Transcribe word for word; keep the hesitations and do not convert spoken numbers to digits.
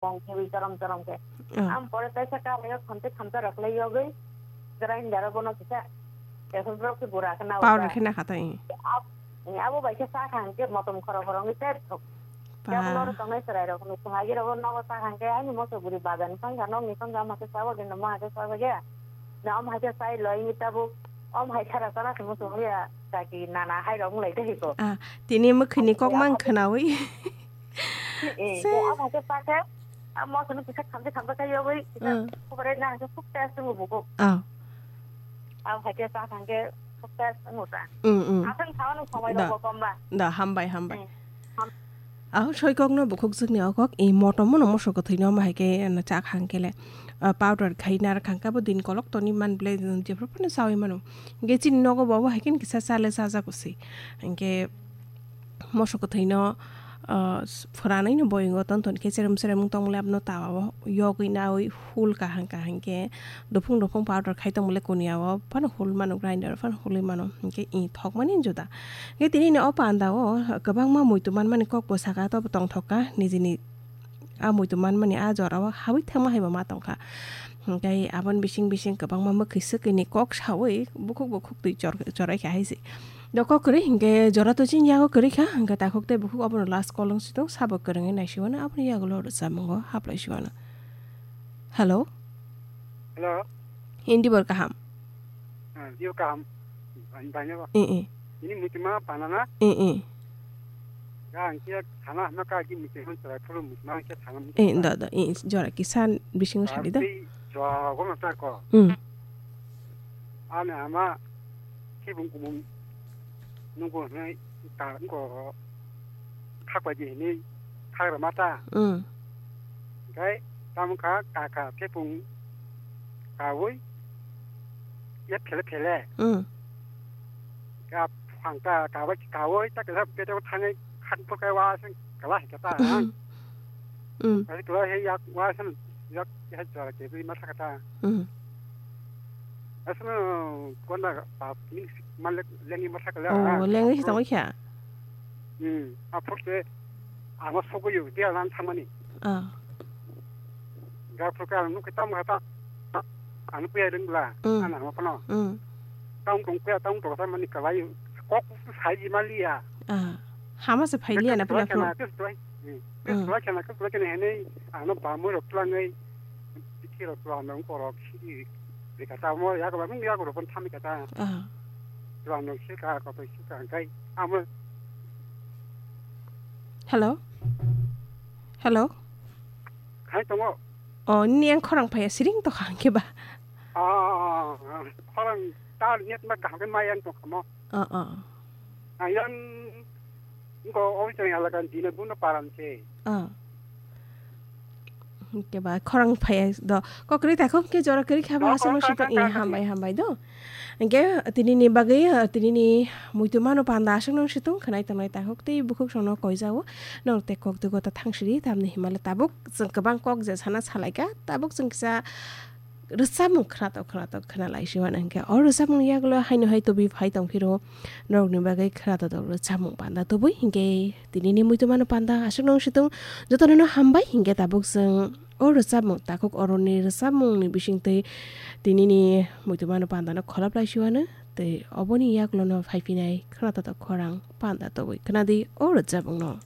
Bong khewi chorom chorom khe. Oh. Am pore kaisa kalaio khamte khamta rok lai yogwi grinder o bono kisa. Ekhon borok khe bura khe na Powder uta. Khe na kha tai. Ab-, abo bai khe sa kha hwnkhe motom khoro khoro wngwi tep thok. Ba. Kebo loro tongnai chwrai rok ni thung agi rok nogo sa kha hwnkhe ani moso guri bazar ni phang kha, nok ni phang kha, ma khe sa bo gendo ma khe sa bo ya. Na om hai khe sai loi ni tabuk. Om hai khara chana khe muchung ya. Kaki nana hai rok wng lai tei ko. Ah, tini mwkhwini kok mang khwnawi. Eh, se. Tei omo khe sakhe, ah, moso no kisa khamse khamse khai yogwi, kisa Hmm. Khubare na khe khub test wng buko. Ah. Ang hai khe sa thang khe khub test wng ta. Hmm, hmm. Aswng thawan somai Da. Rok bo kom ba. Da, hambai, hambai. Hmm. Ham- Ah, soikokno bukhuk jwkni o kok, i motom no moso kwthwino omo hai khe, ano, chak hang khe le, ah, powder khai nar khang khe bo din kolok toni man ble, jephru phano chawi mano. Hingke chini nogo bo obo hai khe kisa chale chajak usi. Hingke moso kwthwino, ah, s-, phwranwi no boyungo ton ton khe cherem cherem wng tong le abono tawa o yogwi nawi hul kahang kahang khe dophung dophung powder khai tong le kuniya o phano hul mano, grinder o phano hulwi mano. Hingke i thokmani juda. Hingke tini ni o panda o kwbangma muitu manmani kok bo saka tobo tongthok kha nijini a muitu manmani a jora o habwi thangma hai bo ma tongkha. Hingke aboni bising bising kwbangma mwkhwi swkwi ni kok sawi bukhuk bukhuk twi chor-, chorai kha hai se. Do kok kwrwi hingke jora to chini yago kwrwi kha, hingke takhuk tei bukhuk obono last call wng si tong, sabo kwrwngwi naisiwano aboni yagulo rwchapmungo haplai siwano. Hello? Hello? Hindi bor kaham? Ah, dio kaham. Bani, bani bo. Eh, eh. Ini mutima panana? Eh, eh. Ga ang khe thana hama ka ki mutima chara thuru mutima khe thana mutima. Eh, da, da, eh, jora kisan bisingo sadi da. Tei jora go ma ta ko. Hmm. Ani ama kibung kumung nunggu hinui ta nunggu khakbai di hinui khagra mata. Hmm. Hingke tamo kha kaka kepung kawi ya phele phele. Hmm. Ka phang ka kawi kawi ta kela peto thangwi khan phukai wa sing kala hingke ta. Hmm. Hmm. Ai kela he yak wa sing yak he jora ke bi mata kata. Hmm. Asno kona pa min malek lengi mata kala. Oh, lengi tong kha. Hmm. A phurte amo sogo yo dia lan thamani. Ah. Ga phurka ang nuk tam kata. Ang puya ring bla. Hmm. Ana mo kono. Hmm. Tang tong puya tang to sa mani kalai. Kok sai di malia. Ah. Hama se phai liya na pula phur. Kes tuai. Hmm. Kes tuai kana kes tuai kana hene. Ano ba mo rok tulang ngai. Tiki rok tulang nang korok sidi. Bika ta mo ya ko ba mung ya ko ro pon thami kata. Ah. Tulang nang sika ko to sika kai. Amo. Hello? Hello? Hai tongo. Oh, ni ang khorang phaya siring to khang ke ba? Ah, khorang ta net ma kaham ke mai ang to khamo. Ah, ah. Ayang ko oi tong ala kan dina buno param se. Ah. Ke ba khorang phaya do. Kokri ta khum ke jora kri khaba Oh, asung khorang, sito khorang, i khorang, hambai, hambai do. Hingke, tinini bagwi, ah, tinini muitu mano panda aswk nung situng khwnai tongnai takhuk tei bukhuk songno koijao. Norok tei kok dugo ta thangsiri, tamni himale tabuk chwng kwbang kok je sana salaika, tabuk chwng kisa rwchapmung khwnatok khwnatok khwnalai siwan hingke. O rwchapmung yagulo haino hai tubi phai tongphiro, norokni bagwi khwnatok rwchapmung panda tubui hingke tinini muitu mano panda aswk nung situng jotono no hambai hingke tabuk chwng O rwchapmung takhuk oroni rwchapmungni bisingtwi tinini muitu mano pandano kholop lai siwano tei oboni yaklono phaiphinai khwnatok khorang panda tobwi khwnadi o rwchapmungno.